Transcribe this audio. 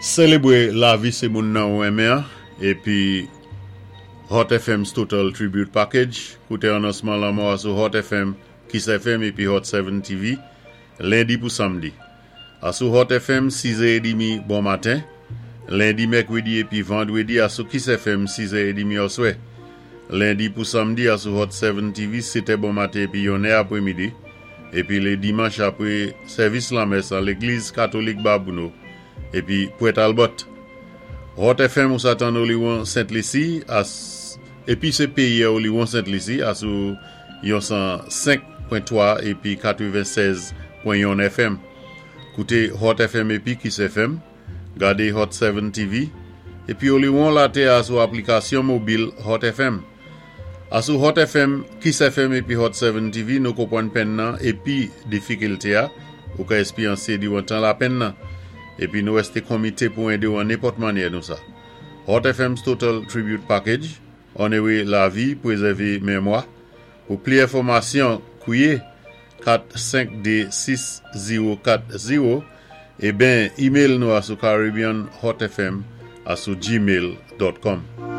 Sélébwé lavi sé moun nan ou renmen an épi Hot FM's Total Tribute Package. Kouté anonsman lanmò a sou Hot FM, Kiss FM épi Hot 7 TV, lendi pou samdi. Asou Hot FM, 6 è édmi bon maten, lendi, mèkwédi épi vandwédi asou Kiss FM, 6 è édmi oswè. Lendi pou samdi asou Hot 7 TV, 7 è bon maten épi 1 è apwémidi, épi lé dimanch apwé sèvis lanmès an légliz katolik Babouno épi Pwèt Albòt. Hot FM ou sa tann Oliwon Sent Lisi as épi sé péyè Oliwon Sent Lisi asou yon 105.3 épi 96.1 FM. Kouté Hot FM épi Kiss FM, gadé Hot 7 TV, épi Oliwon latè asou aplikasyon mobil Hot FM. Asou Hot FM, Kiss FM épi Hot 7 TV nou konpwann penn nan épi difikilté a ou ka éspéryansé diwan tan lapenn nan. Épi nou èsté konmité pou édé-w an nenpòt mannyè nou sa. Hot FM's Total Tribute Package, Onoré lavi, pwézèvé menmwa. Pou pli enfòmasyon, kwié 4 5 2 6 0 4 0 é ben email nou asou caribbeanhotfm@gmail.com.